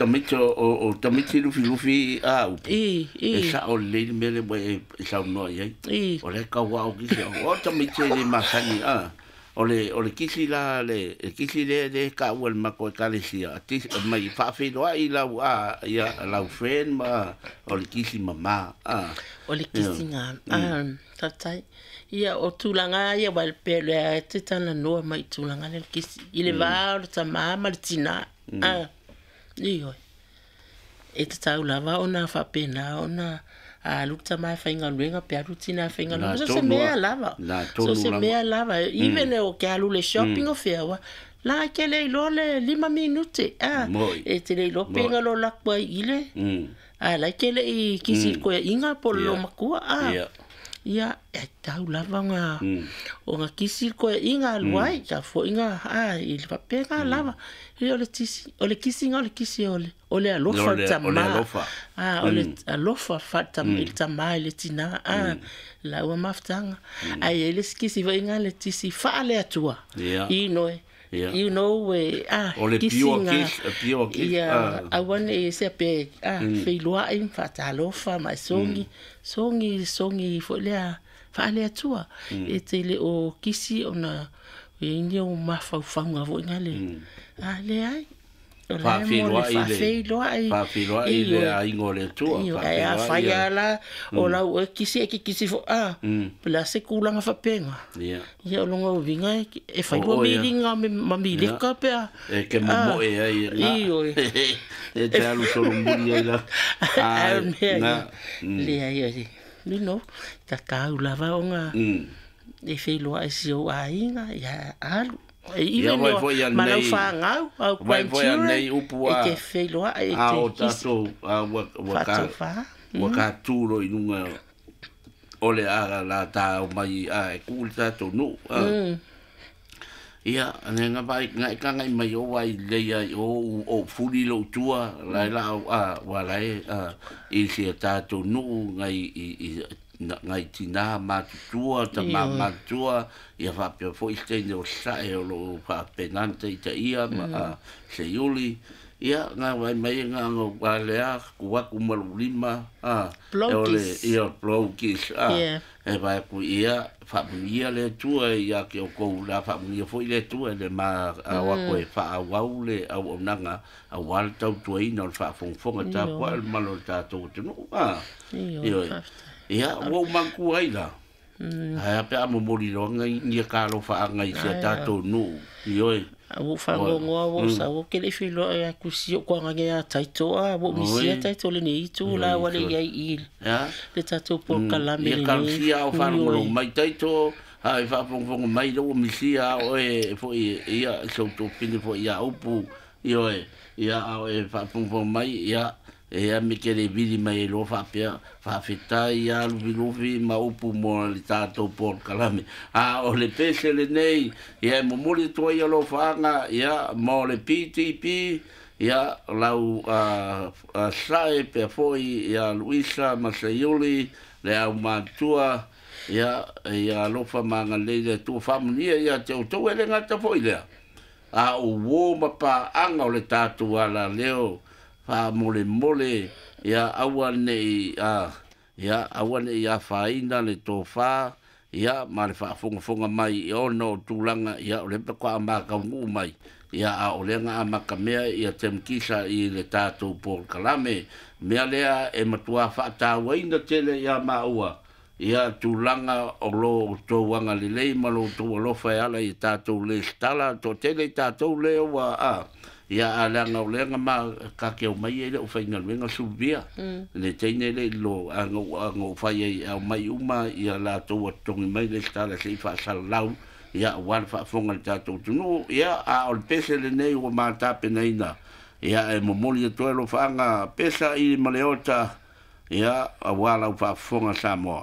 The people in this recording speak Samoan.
Tamaiti o tamaiti lufilufi a upu. I, i. E sa'o lelei le mea lea ua e saunoa i ai. I. O lea e tau ao kisi, o tamaiti e le masani, a. O le, o le kisi la, le, le kisi lea lea e taua e le matou ekalesia, mai faafeiloai lau, a, ia, lau friend ma, o le kisi mama, a. O le kisiga, a, faafetai. Ia, o tulaga lava ia aua e pei o lea e te talanoa mai i tulaga lea o le kisi, i le va o le tama ma le tina, a. Ioe. E tatau lava ona faapena ona alu le tama e faigaluega pe alu le tina e faigaluega. So se mea lava. So se mea lava. Even o ke alu le shopping o fea ua, la e te le iloa le 5 minute. Ah, e te le iloa pe nga lo laku ai i le. A la e te le i kisi koe inga po lo matua. Ah. Ia, e tau lava o nga kisi koe inga alu ai, ka fo inga, a, i le faapena lava. Ia, o le tisi, o le kisiga o le kisi o le alofa le tama. A, o le alofa fa i le tama i le tina, a, laua mafutaga. Ae i ai le isi kisi foi nga le tisi faale-Atua. I noe. You know, e, a, O le pure kiss, a pure kiss. Ia, aua ne i sea pe, a, feiloai, faatalofa ma e sogi, sogi, sogi foi lea faale-Atua. E te le o kisi ona e i ai ni ou mafaufauga foi nga le, a, leai. O la e mo le faafeiloai. Faafeiloai le aiga o le Atua. Ae afai lava la o lau oe kisi e kikisi foi, a, po o le a se tulaga faapena. Ia, o lona uiga e fai lua miliga ma mileka pe a. E ke momoe ai na. Ioe. E te alu solomuli ai la. Ae o le mea ia, leai o le, you know, tatau lava ona e feiloai si ou aiga, ia alu. E Ia even vai foi ma lau anei fanau, au vai foi grandchildren, anei upu e a te feiloai, e a te o kisi. tatou a ua ua ka Faatofa. ua ka tu lo i luga o le a la ta mai a e ku le tatou nuu. Ia, ane nga vai nga ka ngai mai o vai le ai o o fuli lo tua la la a wa la e a i se tatou nuu ngai i ngai tina matutua tama matutua ia faapea foi se teine o sae o loo faapenana taitaia ma a seiuli ia nga vai mai nga ngo wa lea ku aku ma lou lima a e o le Blow kiss. Ia blow kiss a e vai ku ia faamanuia le Atua ia te outou la faamanuia foi le Atua le ma ao atu e faaauau le auaunaga auā le tautuaina o le faafogafoga tapuai o le malo o le tatou atunuu a. Ioe, Ioe. faafetai. Ia ua ou manatua ai la ae a pe a momoli loa nia kalofaaga i si a tatou nuu. Ioe. Ua ou faanoanoa ua ou sau ou te le i feiloai atu si ou toagaga ia Taito a ua ou misia Taito lenei itu la ua le i ai i le tatou polokalame Ia lenei. talosia ao faalogologo Ioe. mai Taito a e faafogafoga mai lea ua misia a oe foi ia si ou tuafafine foi ia Upu. Ioe. Ia a oe faafogafoga mai ia e a me te le vili mai ai loa faapea faafetai ia Lufilufi ma Upu mo le tatou polokalame. A o le pese lenei ia e momoli atu ai alofaaga ia mo le PTP ia lau sae pea foi ia Luisa ma Seiuli le aumatua ia ia alofa ma agalelei le Atua faamanuia ia te outou e le gata foi lea. A o uō ma paaga o le tatou alaleo faamolemole ia aua nei a ia aua nei afaina le tofā ia ma le faafogafoga mai i ona o tulaga ia o lea faatoa mataunuu mai ia a o lea na amatamea ia temukisa i le tatou polokalame mea lea e matuā faatauaina tele ia maua ia tulaga o lo outou agalelei ma lo outou alofa e ala i tatou lesitala toatele i tatou lea ua a ia a leaga o lea na ma ka te omai ai le aufaigaluega suvia le teine le i lo a na ou fai ai e aumai uma ia latou ua totogi mai lesitala se'i faasalalau ia aua le faafofoga a le tatou atunuu ia a o le pese lenei ua matapenaina ia e momoli atu ai alofaaga pesa i ma le ota ia auā lau faafofoga Samoa.